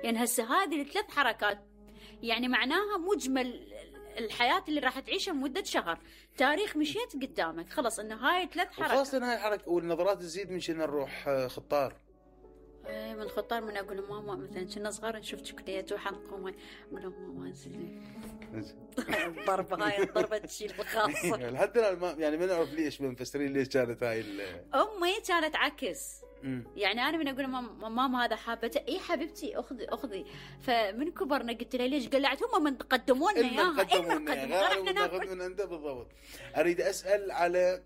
يعني هسه هذه ال3 حركات يعني معناها مجمل الحياة اللي راح تعيشها لمدة شهر. تاريخ مشيت قدامك خلص انه هاي 3 حركات. خاصة هاي الحركة والنظرات تزيد من شنو نروح خطار. من الخطار من اقول ماما مثلا كنا صغار نشوف شوكليات وحنقوم اقول ماما انزلي الضربة هاي الضربة تشيل الخاصة. لحد الان يعني ما نعرف ليش مفسرين ليش كانت هاي امي كانت عكس. يعني انا من اقول ماما هذا حابته اي حبيبتي اخذي فمن كبرنا قلت لها ليش قلعت هم من قدموا لنا اياها احنا ناخذ من عنده بالضبط. اريد اسال على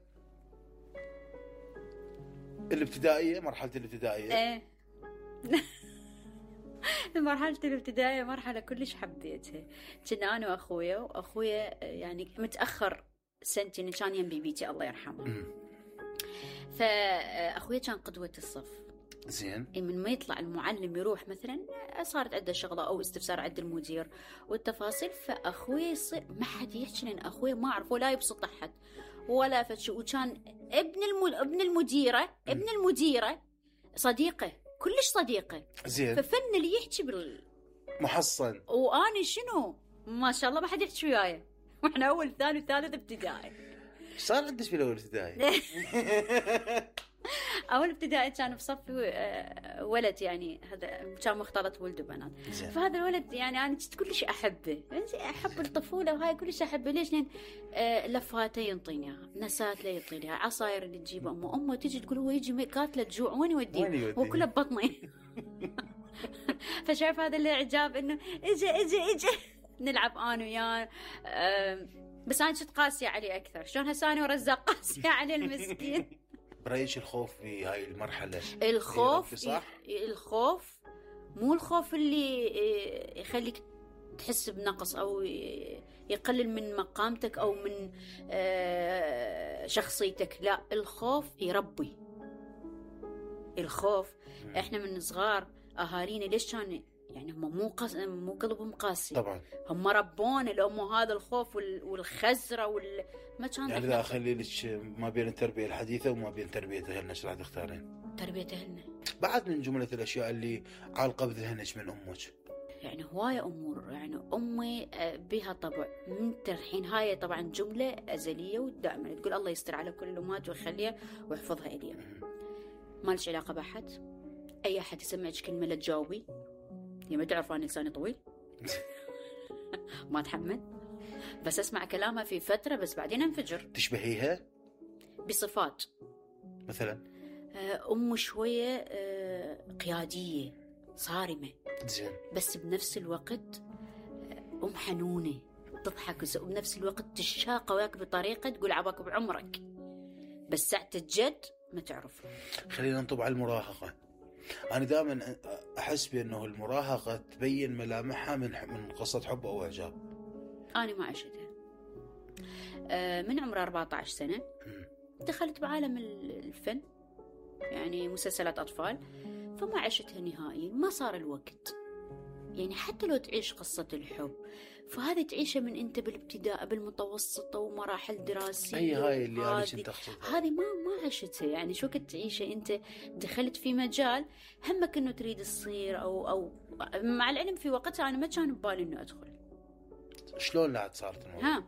الابتدائيه مرحله الابتدائيه. مرحلة الابتدائية مرحلة كلش حبيتها. كنا أنا وأخويا يعني متأخر سنتين كان يم بيبيتي الله يرحمه. فأخويا كان قدوة الصف. زين. من ما يطلع المعلم يروح مثلا صارت عنده شغلة أو استفسار عند المدير والتفاصيل فأخويا يصير ما حد يحكي لأن أخويا ما أعرف ولا يبسط أحد ولا فتشو. وكان ابن المديرة صديقه كلش صديقه. زين. ففن اللي يحكي محصن وأنا شنو ما شاء الله ما حد يحكي وياي واحنا أول ثاني وثالث ابتدائي. صار عندك في الأول ابتدائي؟ أول ابتدائي كان بصفي ولد يعني هذا كان مختلط ولد وبنات. فهذا الولد يعني أنا كنت كلش أحبه أحب الطفولة وهاي كلش أحبه. ليش؟ لأن لفاته ينطينيها نسات لا يعطينيها عصاير اللي تجيبها أمه تيجي تقول هو يجي قاتله جوع وين يوديه هو كله ببطني. فشايف هذا الإعجاب إنه إجا نلعب أنا وياه. بس أنا كنت قاسية عليه أكثر. شلون هساني ورزاق قاسية عليه المسكين. برأيك الخوف في هاي المرحلة؟ الخوف صح؟ الخوف مو الخوف اللي يخليك تحس بنقص أو يقلل من مقامتك أو من شخصيتك. لا الخوف يربي. الخوف إحنا من صغار أهالينا ليش كان يعني هم مو قلبهم قاسي طبعا هم ربون الأم هذا الخوف والخزرة ما كان يعني لا أخلي لك ما بين التربية الحديثة وما بين تربية أهلنا ايش راح تختارين؟ تربية أهلنا بعد من جملة الأشياء اللي عالقة بذهنك من أمك. يعني هواية أمور يعني أمي بها طبع من الحين هاي طبعا جملة أزلية ودائما تقول الله يستر على كل الأمهات ويخليها ويحفظها إليها. ما لش علاقة بأحد. أي أحد يسمعك كلمة لا تجاوبي. ما تعرف أنا لساني طويل ما أتحمل بس أسمع كلامها في فترة بس بعدين أنفجر. تشبهيها بصفات مثلا؟ أم شوية قيادية صارمة زين بس بنفس الوقت أم حنونة تضحك وبنفس الوقت تشاقة وياك بطريقة تقول عباك بعمرك بس ساعة الجد ما تعرف. خلينا نطب على المراهقة. أنا دائما أحس بأنه المراهقة تبين ملامحها من قصة حب أو إعجاب. أنا ما عشتها. من عمر 14 سنة دخلت بعالم الفن يعني مسلسلات أطفال فما عشتها نهائيا. ما صار الوقت يعني حتى لو تعيش قصة الحب فهذا تعيشها من أنت بالابتداء بالمتوسطة ومراحل دراسية. هاي اللي أنا كنت أقصدها. هذه ما عشتها يعني شو كنت تعيشها أنت دخلت في مجال همك إنه تريد تصير أو مع العلم في وقتها أنا ما كان ببالي إنه أدخل. شلون لا صارت الموضوع؟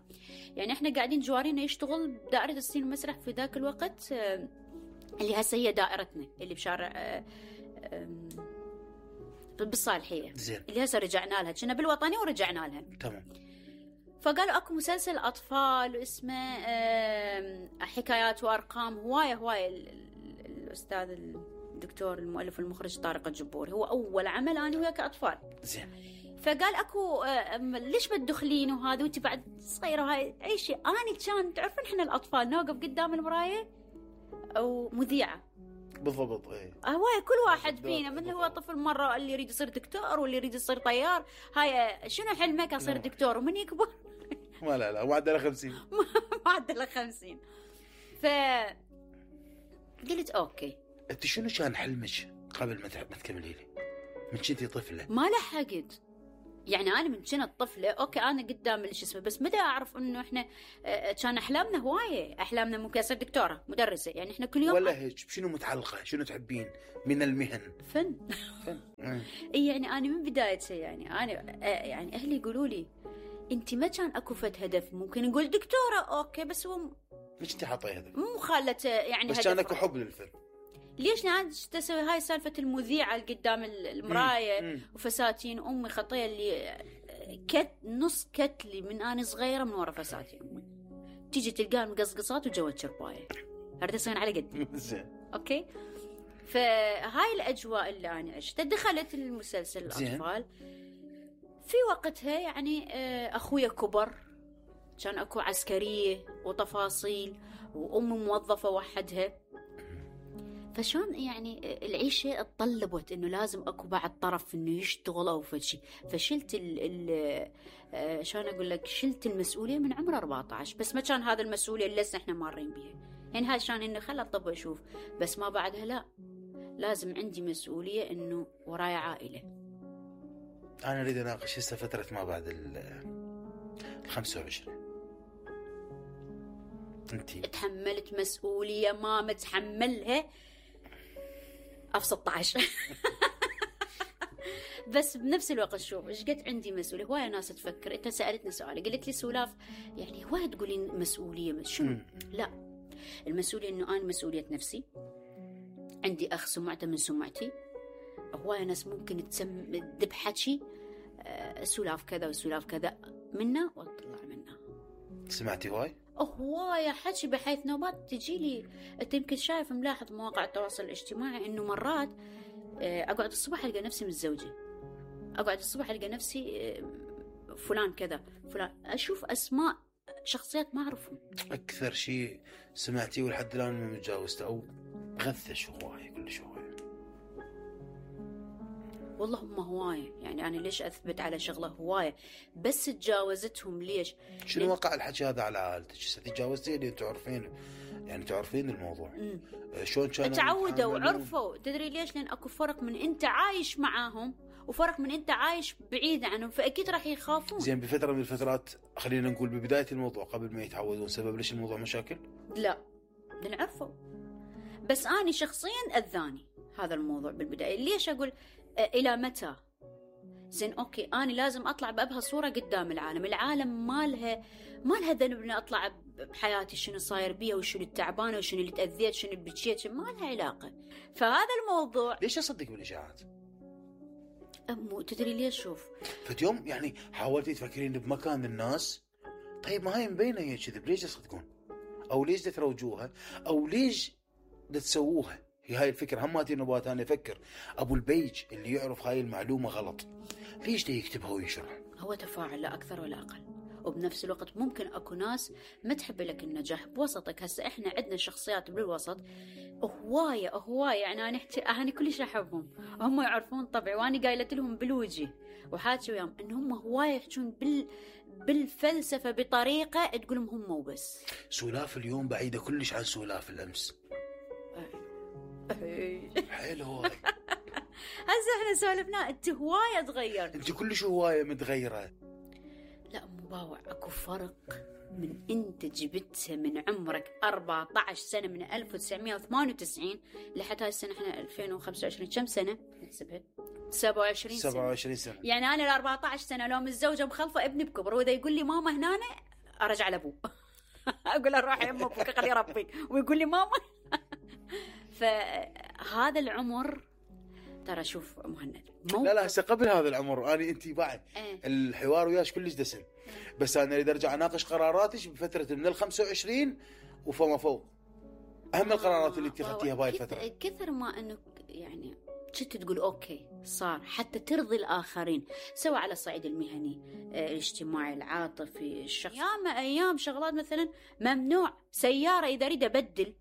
يعني إحنا قاعدين جوارينا يشتغل دائرة السين المسرح في ذاك الوقت اللي هسه هي دائرتنا اللي بشارع بالصالحية. زين. اللي هسه رجعنا لها كنا بالوطني ورجعنا لها. تمام. فقالوا اكو مسلسل اطفال اسمه حكايات وارقام. هوايه الاستاذ الدكتور المؤلف والمخرج طارق الجبوري هو اول عمل انا وياه كاطفال. زين. فقال اكو ليش بتدخلين وهذا وانت بعد صغيره هاي عيشي. انا كان تعرفون احنا الاطفال نوقف قدام المرايه او مذيعه بالضبط. ايه هواي كل واحد فينا من هو طفل مرة اللي يريد يصير دكتور واللي يريد يصير طيار. هاي شنو حلمك أصير دكتور ومن يكبر لا معدله 50 معدله 50. قلت أوكي. أنت شنو كان حلمك قبل ما تكملي لي من كنتي طفلة؟ ما لحقت يعني أنا من كنت طفلة أوكي أنا قدام اللي اسمه بس متى أعرف إنه إحنا كان أحلامنا هواية. أحلامنا ممكن أصير دكتورة مدرسة يعني إحنا كل يوم ولا هيك. شنو متعلقة شنو تحبين من المهن؟ فن. يعني انا من بدايته يعني انا يعني اهلي يقولوا لي انت ما كان اكو فد هدف، ممكن نقول دكتوره اوكي، بس هو ليش انت حاطه هدف؟ مو خالته يعني بس كان اكو حب للفن. ليش لان تسوي هاي سالفه المذيعه اللي قدام المرايه وفساتين امي خطيه اللي نص كتلي من انا صغيره من ورا فساتين امي، تيجي تلقاها مقصقصات وجوه شربايه، هذا يصير على قدي. زين اوكي. فهاي الاجواء اللي انا عشتها. دخلت المسلسل الاطفال في وقتها يعني اخويا كبر، كان اكو عسكريه وتفاصيل وامي موظفه وحدها، فشون يعني العيشه اتطلبت انه لازم اكو بعد طرف انه يشتغل او فشي، فشلت شلون اقول لك، شلت المسؤوليه من عمر 14، بس ما كان هذا المسؤوليه اللي لسه احنا مارين بيها، يعني هاي شان انه خل اطب واشوف، بس ما بعدها لا، لازم عندي مسؤوليه انه وراي عائله. انا اريد اناقش هسه فتره ما بعد ال 25. انتي تحملت مسؤوليه ما متحملها في 16. بس بنفس الوقت شوف ايش قد عندي مسؤوليه. هوايه ناس تفكر، انت سالتني سؤال قلت لي سولاف يعني هوايه تقولين مسؤوليه شنو؟ لا، المسؤوليه انه انا مسؤوليه نفسي، عندي اخ سمعته من سمعتي. هوايه ناس ممكن تدب حكي سولاف كذا وسولاف كذا منا واطلع منها. سمعتي هوايه حكي بحيث نوبات تجي لي. انت يمكن شايف ملاحظ مواقع التواصل الاجتماعي انه مرات اقعد الصبح القى نفسي متزوجه، اقعد الصبح القى نفسي فلان كذا فلان، اشوف اسماء شخصيات ما اعرفهم. اكثر شيء سمعتيه ولحد الان ما متجاوزته او غثش هوايه كلش هوايه؟ والله هم هوايه، يعني انا ليش اثبت على شغله هوايه، بس تجاوزتهم ليش؟ شنو وقع الحكي هذا على عائلتك؟ تجاوزتي اللي تعرفين، يعني تعرفين الموضوع. شلون كانوا تعودوا وعرفوا؟ تدري ليش؟ لان اكو فرق من انت عايش معاهم وفرق من انت عايش بعيد عنهم، فاكيد راح يخافون. زين بفتره من الفترات خلينا نقول ببدايه الموضوع قبل ما يتعودون، سبب ليش الموضوع مشاكل؟ لا لان عرفوا، بس اني شخصيا اذاني هذا الموضوع بالبدايه. ليش اقول الى متى؟ زين اوكي انا لازم اطلع بابهى صوره قدام العالم ما لها ذنب اني اطلع بحياتي شنو صاير بيها وشنو التعبانه وشنو اللي تاذيت شنو اللي بكيت، ما لها علاقه. فهذا الموضوع ليش اصدق بالاشاعات؟ تدري ليش؟ شوف فاليوم يعني حاولتي تفكرين بمكان الناس، طيب ما هي مبينه هي كذب، ليش تصدقون؟ او ليش تروجوها؟ او ليش تسووها؟ هي هاي الفكره. هم ماتي نبات انا افكر ابو البيج اللي يعرف هاي المعلومه غلط ليش يكتبها ويشرح؟ هو تفاعل لا اكثر ولا اقل. وبنفس الوقت ممكن اكو ناس ما تحب لك النجاح بوسطك. هسه احنا عندنا شخصيات بالوسط هوايه يعني انا كلش احبهم، هم يعرفون طبعي وانا قايلت لهم بالوجه وحاكي وياهم ان هم هوايه يحجون بالفلسفه بطريقه تقولهم هم وبس. سولاف اليوم بعيده كلش عن سولاف الامس. حلو هواي. هسه احنا سولفنا انت هوايه تغيرت، انت كلش هوايه متغيره. لا مباوع، اكو فرق من انت جبتها من عمرك 14 سنه من 1998 لحد هاي السنه احنا 2025 كم سنه نحسبها؟ 27 سنه. يعني انا ال 14 سنه لو متزوجه مخلفه ابني بكبر، واذا يقول لي ماما هنا ارجع لابوه اقول له روح يا امك خليه يربيك، ويقول لي ماما. فهذا العمر ترى شوف مهند لا هسه قبل هذا العمر اني انت بعد الحوار وياش كلش دسم، بس انا اريد ارجع اناقش قراراتك بفتره من ال 25 وفما فوق. اهم القرارات اللي اتخذتيها بهاي الفتره كثر ما انه يعني كنت تقول اوكي صار حتى ترضي الاخرين، سواء على الصعيد المهني الاجتماعي العاطفي الشخصي. ايام شغلات مثلا ممنوع سياره اذا اريد ابدل